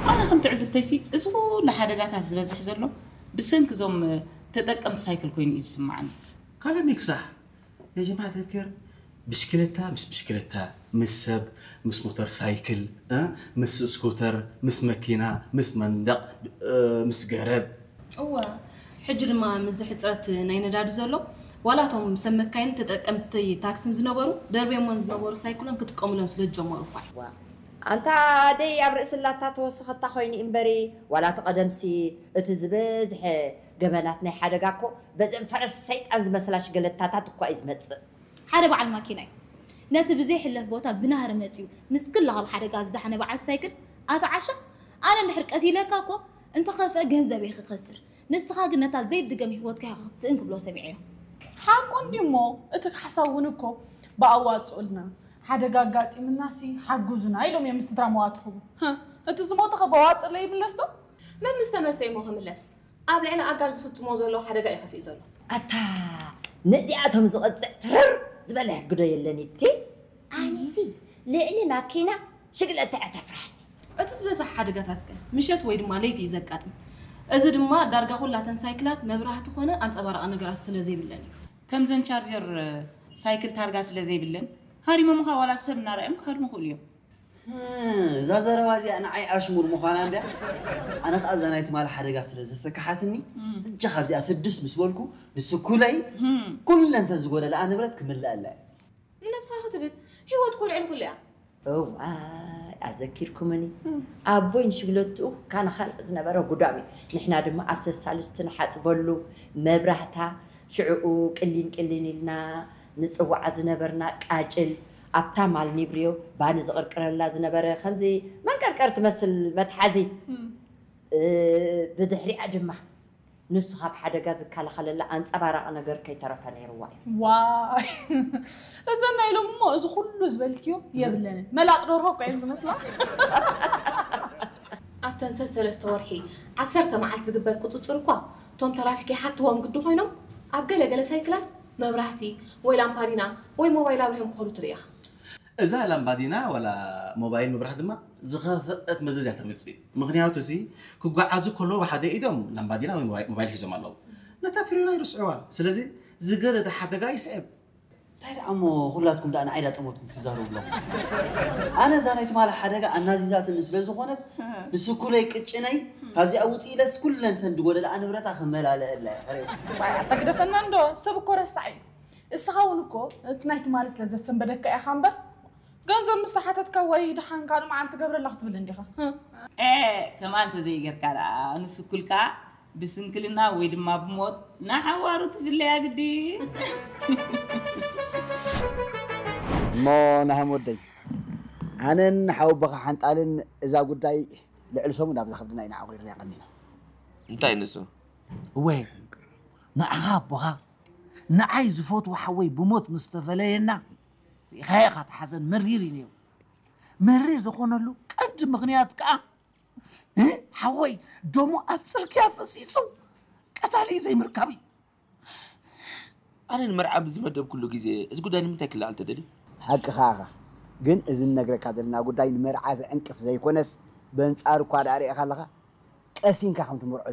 ኣነ ከም ትዕዝብተይሲ እዚ ኩሉ ሓደጋታት ዝበዝሕ ዘሎ ብሰንኪ እዞም ተጠቀምቲ ሳይክል ኮይኑ እዩ ዝስምዓኒ። ካለ ሚክሳሕ የጀማዓ ተክር ብሽክለታ ምስ ብሽክለታ ምስ ሰብ ምስ ሞተር ሳይክል እ? ምስ ስኩተር ምስ መኪና ምስ መንደቕ እ፣ ምስ ገረብ እወ፣ ሕጂ ድማ ምስዚ ሕፅረት ናይ ነዳዲ ዘሎ ዋላ እቶም ሰብ መካይን ተጠቀምቲ ታክስን ዝነበሩ ደርብዮመን ዝነበሩ ሳይክሎም ክጥቀሙለን ስለ ዝጀመሩ እኳ እዩ። ኣንታ ደይ ኣብ ርእሲ ላታ ተወሰኸታ ኮይኑ እምበሪ ዋላ እቲ ቀደምሲ እቲ ዝበዝሐ ገበናት ናይ ሓደጋ እኮ በዘን ፈረስ ሰይጣን ዝመስላ ሽገለታታት እኳ እዩ ዝመፅእ። ሓደ በዓል ማኪና እዩ ነቲ ብዘይሕለፍ ቦታ ብናህሪ መፂኡ ንስክላ ካብ ሓደጋ ዝዳሓነ በዓል ሳይክል ኣቶ ዓሻ ኣነ እንድሕር ቀቲለካ እኮ እንተኸፍአ ገንዘብ እየ ክኸስር ንስኻ ግን ነታ ዘይድገም ህይወትካ ኢኻ ክትስእን ክብሎ ሰሚዐዮ። ሓቁ እንዲሞ እቲ ካሕሳ እውን እኮ ብኣዋፅኡልና ሓደጋ ኣጋጢምናሲ ሓጉዙና ኢሎም እዮም ስድራ መዋትኹም። እቲ ዝሞተ ከ በዋፅእ ለይምለስ ዶ? መን ምስ ተመሰ እሞ ክምለስ? ኣብ ልዕሊ ኣጋር ዝፍፅሞ ዘሎ ሓደጋ እዩ ከፊኡ ዘሎ። ኣታ ነዚኣቶም ዝቐፅዕ ትርር ዝበለ ሕጊ ዶ የለን እቲ ኣነሲ ልዕሊ ማኪና ሽግለታ እያ ተፍርሃኒ። እቲ ዝበዝሕ ሓደጋታት ከ ምሸት ወይ ድማ ለይቲ እዩ ዘጋጥም። እዚ ድማ ዳርጋ ኩላተን ሳይክላት መብራህቲ ኮነ ኣንፀባራቒ ነገራት ስለ ዘይብለን እዩ። ከምዘን ቻርጀር ሳይክል ታርጋ ስለ ዘይብለን ሃሪሞምኻ ዋላ ሰብ እናረኣዮም ክሃድሙ ይኽእሉ እዮም። እዛ ዘረባ እዚኣ ንዓይ ኣሽሙር ምዃና እንድያ። ኣነ ከኣ እዛ ናይ ትማሊ ሓደጋ ስለ ዘሰክሓትኒ ሕጂ ካብዚኣ ፍድስ ምስ በልኩ ንስኩለይ ኩለን ተዝጎደለኣ ንብረት ክምልኣላ እየ። ንነብስኻ ክትብል ህይወት እኮ ልዕሊ ኩሉ እያ። እዋይ ኣዘኪርኩምኒ ኣቦይ ንሽግለትኡ ካነ ካልእ ዝነበረ ጉዳም እዩ ንሕና ድማ ኣብ ሰሳልስቲ ንሓፅበሉ መብራህታ ሽዕኡ ቅሊን ቅሊን ኢልና ንፅዋዓ ዝነበርና ቃጭል ኣብታ ማል ኒብርዮ ባኒ ዝቕርቅረላ ዝነበረ ከምዚ መንቀርቀር ትመስል መትሓዚ ብድሕሪኣ ድማ ንሱ ካብ ሓደጋ ዝከላኸለላ ኣንፀባራቒ ነገር ከይተረፈ ነይርዋ እዩ። ዋይ እዘን ናይ ሎሚ እሞ እዚ ኩሉ ዝበልክዮ የብለንን። መላጥ ደርሆ እኮ እየን ዝመስላ። ኣብተን ሰሰለስተ ወርሒ ዓሰርተ መዓልቲ ዝግበር ቁፅፅር እኳ እቶም ተራፊክ ይሓትዎም ግዲ ኮይኖም ኣብ ገለ ገለ ሳይክላት መብራህቲ ወይ ላምፓዲና ወይ ሞባይል ኣብሪሆም ክኸዱ ትርኢ ኢኻ። እዛ ላምባዲና ዋላ ሞባይል ምብራህ ድማ ዝኸፍአት መዘዝ እያ ተምፅእ። ምኽንያቱ ሲ ክጓዓዙ ከለዉ ብሓደ ኢዶም ላምባዲና ወይ ሞባይል ሒዞም ኣለዉ። ነታ ፍሬና ይርስዕዋ። ስለዚ ዝገደደ ሓደጋ ይስዕብ። እንታይ ደኣ እሞ ኩላትኩም ደኣ ንዓይ ዳ ጠመትኩም ትዛረቡ ኣለኹም። ኣነ እዛ ናይ ትማሊ ሓደጋ ኣናዚዛትኒ ስለ ዝኾነት ንስኩለይ ቅጭነይ ካብዚኣ ውፅእ ኢለስ ኩለንተን ዝጎደለኣ ንብረታ ክመላለአላ እየ ሕሬው። ዋይ ኣታ ግደፈና እንዶ ሰብ እኮ ረሳዕ እዩ። እስኻ እውን እኮ እቲ ናይ ትማሊ ስለ ዘሰንበደካ ኢኻ እምበር ገንዘብ ምስ ተሓተትካ ወይ ደሓን ካልእ መዓልቲ ገብረላ ክትብል እንዲኻ። ኤ ከማን ተዘይገርካ ደኣ ንስኩልካ ብስንክልና ወይ ድማ ብሞት ንሓዋሩ ትፍለያ ግዲ። እሞ ናህም ወደይ ኣነን ሓወቦኻ ሓንጣልን እዛ ጉዳይ ልዕሊ ሰሙን ኣብዛ ከብድና ኢና ዓቑርና ቀኒና። እንታይ ንሱ? እወ ንዓኻ ኣቦኻ ንዓይ ዝፈትዎ ሓወይ ብሞት ምስ ተፈለየና ርኢኻዮ ኢኻ እቲ ሓዘን መሪር እዩ ነይሩ። መሪር ዝኾነሉ ቀንዲ ምኽንያት ከኣ ሓወይ ደሙ ኣብ ፅርግያ ፈሲሱ ቀታሊ ዘይምርካብ እዩ። ኣነ ንመርዓ ብዝመደብኩሉ ግዜ እዚ ጉዳይ ንምንታይ ክለዓል ተደልዩ? ሓቅኻ ኢኻ፣ ግን እዚ ንነግረካ ዘለና ጉዳይ ንመርዓ ዝዕንቅፍ ዘይኮነስ በንጻሩ እኳ ደኣ ርኢኻ ኣለኻ ቀሲንካ ከም ትመርዖ